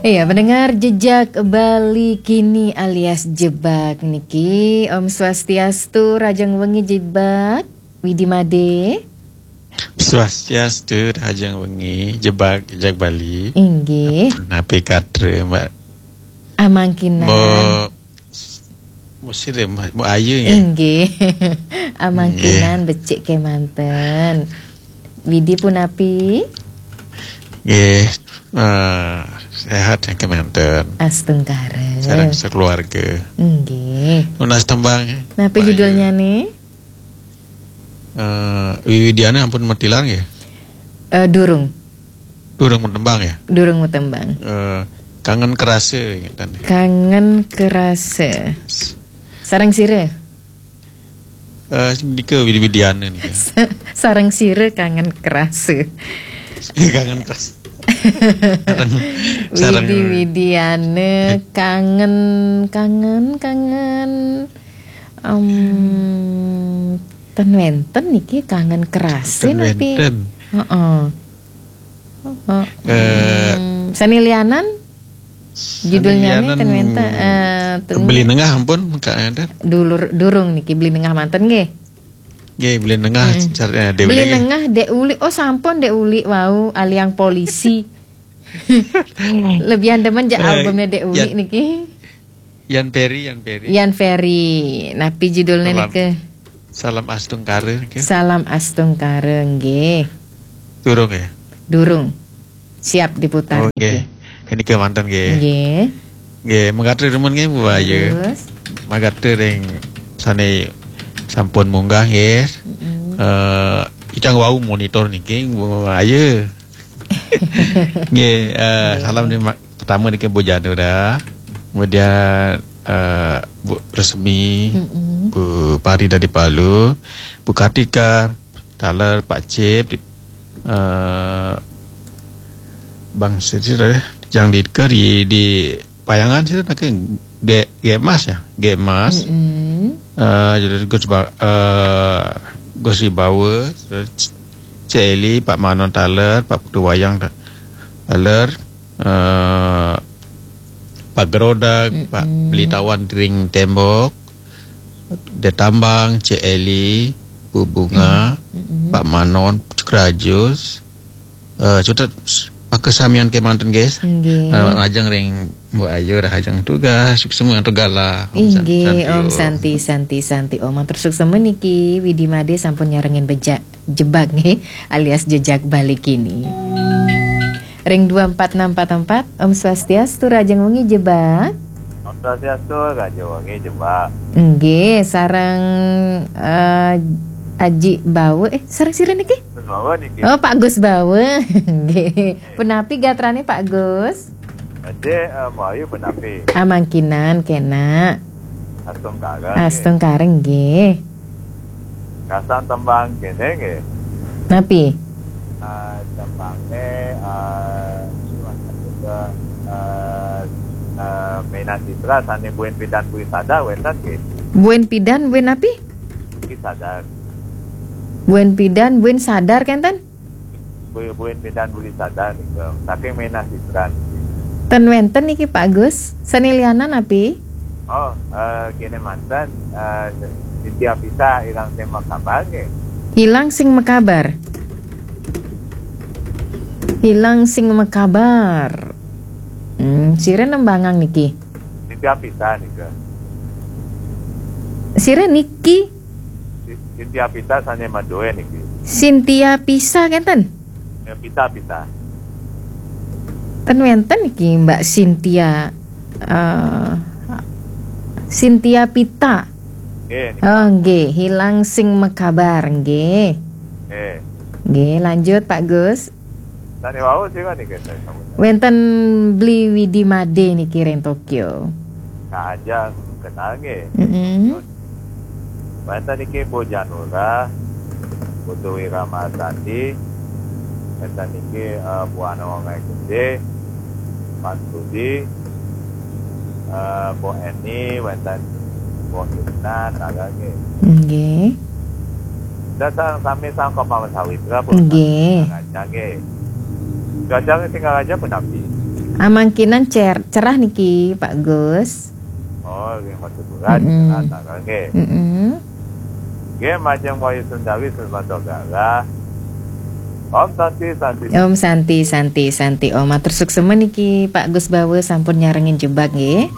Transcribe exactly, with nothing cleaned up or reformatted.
Iya, pendengar Jejak Bali Kini alias Jebak niki. Om Swastiastu, rahajeng wengi Jebak. Widi Made. Swastiastu, rahajeng wengi Jebak, Jejak Bali. Inggih. Napi katra, Mbak? Amangkinan. Mo Musire, Mbak, Mbak Ayu nggih. Inggih. Amangkinan becik kemanten. Widi punapi? Nggih, eh, sehat yang kemanten. Astungkara. Sareng sekeluarga. Nggih. Nunas tembang. Napi judulnya nih? Eh, Wiwidiana ampun matilar nggih? Eh, durung. Durung tembang ya? Durung tembang. Eh, Kangen Kerasa, ingetan. Kangen Kerasa. Sareng sira? Eh, nika Widi Widiana nika. Sareng sira Kangen Kerasa. Kangen Kerasa. Sareng, sareng Widi Widiana, Kangen, Kangen, Kangen. Em, ten wenten niki Kangen Kerasa. Ten napi? Wenten. Heeh. Heeh. Eh, hmm, sane lianan? Judulnya nih ten wenten, eh, ten Beli Nengah ampun, Kak Eder. Dulur, durung niki Beli Nengah manten nggih. Nggih, Beli Nengah. Hmm. Car-, eh, Dek Beli Uli nggih. Nengah Dek Uli. Oh, sampun Dek Uli wau aliang polisi. Lebihan demen jak eh, albumnya Dek Uli yan, niki. Yan Ferry, Yan Ferry. Yan Ferry. Napi judulnya nika? Salam Astungkara nggih. Salam Astungkara nggih. Durung ya? Durung. Siap diputar. Oh, nggih. Nggih. Nika manten nggih. Nggih. Nggih, mangga remen nggih Bu Ayu. Terus? Mangga ring sane sampun munggah nggih. Mm-mm. Eh, icang wau monitor niki Bu Ayu. Nggih, eh, salam di ma-, pertama niki Bu Janura, kemudian, eh, Bu Resmi, mm-mm, Bu Pari dari Palu, Bu Kartika, taler Pak Cip, eh, Bang Siti, eh, yang di, di Payangan sira niki Ge-, Gemas ya, Gemas. Mm-mm. Eh, jadi Gus Ba-, eh, Gus Ibawa, terus Cik Eli, Pak Manon taler, Pak Putu Wayang ta-, taler, eh, Pak Gerodak, Pak mm-mm, Beli Tawan Ring Tembok, Detambang, Cik Eli, Bu Bunga, mm-mm, Pak Manon, Cukrajus, eh, cutet s-, pakasamian kemanten, guys. Nggih. Eh, ajeng ring Mbok Ayu, dah ajeng tugas, semua tugas lah. Om San-, inggih, Santi, Om Om. Santi, Santi, Santi. Om, matur suksma niki, Widi Made sampun nyarengin bejak Jebak nggih, alias Jejak Bali Kini. Ring dua empat enam empat empat, Om Swastiastu, rahajeng wengi Jebak. Om Swastiastu, rahajeng wengi Jebak. Nggih, sareng, eh, Aji Bawa, eh, sareng sira niki? Gus Bawa niki. Oh, Pak Gus Bawa. Nggih. Punapi gatrane Pak Gus? Ade, eh, Mbok Ayu punapi? Amangkinan kena. Astungkara nggih. Astungkara nggih. Kasang tembang kene nggih. Napi? Eh, tembange, eh, surat juga, eh, eh, Mena Citra sane Buen Pidan Bui Sadar wenten nggih. Buen Pidan, Buen napi? Bui Sadar. Buen Pidan, Buen Sadar kenten? Buen, Buen Pidan Bui Sadar nika. Saking Mena Citra. Ten wenten niki Pak Gus. Sane lianan napi? Oh, eh, kene manten, eh, Cynthia Pisa ilang sing makabar nggih. Hilang sing makabar. Hilang sing makabar. Hmm, sira nembangang niki. Cynthia Pisa nika. Sira niki? Si-, Cynthia Pisa sane madoe niki. Cynthia Pisa kenten? Ya, Pisa, Pisa. Ten wenten niki Mbak Cynthia, eh, Cynthia Pita. Nggih, niki. Oh, nggih, hilang sing mekabar, nggih. Nggih. Nggih, lanjut Pak Gus. Sane wau sira niki, saya sambut. Wenten Bli Widi Made niki ring Tokyo. Kak Ajang kenal nggih. Mm-mm. Wenten niki Bu Janura, Putu Wira Marsandi, wenten niki, eh, Bu Ana Wangai Gede, Mas Budi, eh, Bu Eni, wenten Bu Irna, taler nggih. Nggih. Kita sa-, sami sangka Mawar Sawitra, Bu. Nggih. Raja nggih. Raja nggih tinggal raja punapi? Amangkinan cer- cerah niki, Pak Gus. Oh, nggih, masih bulan. Mm-mm. Anak, nggih. Mm-mm. Nggih, majeng Wahyu Sundawi Sumantong Galah. Om Santi, Santi. Om Santi, Santi, Santi. Om, matur suksema niki Pak Gus Bawa sampun nyarengin jebak nggih.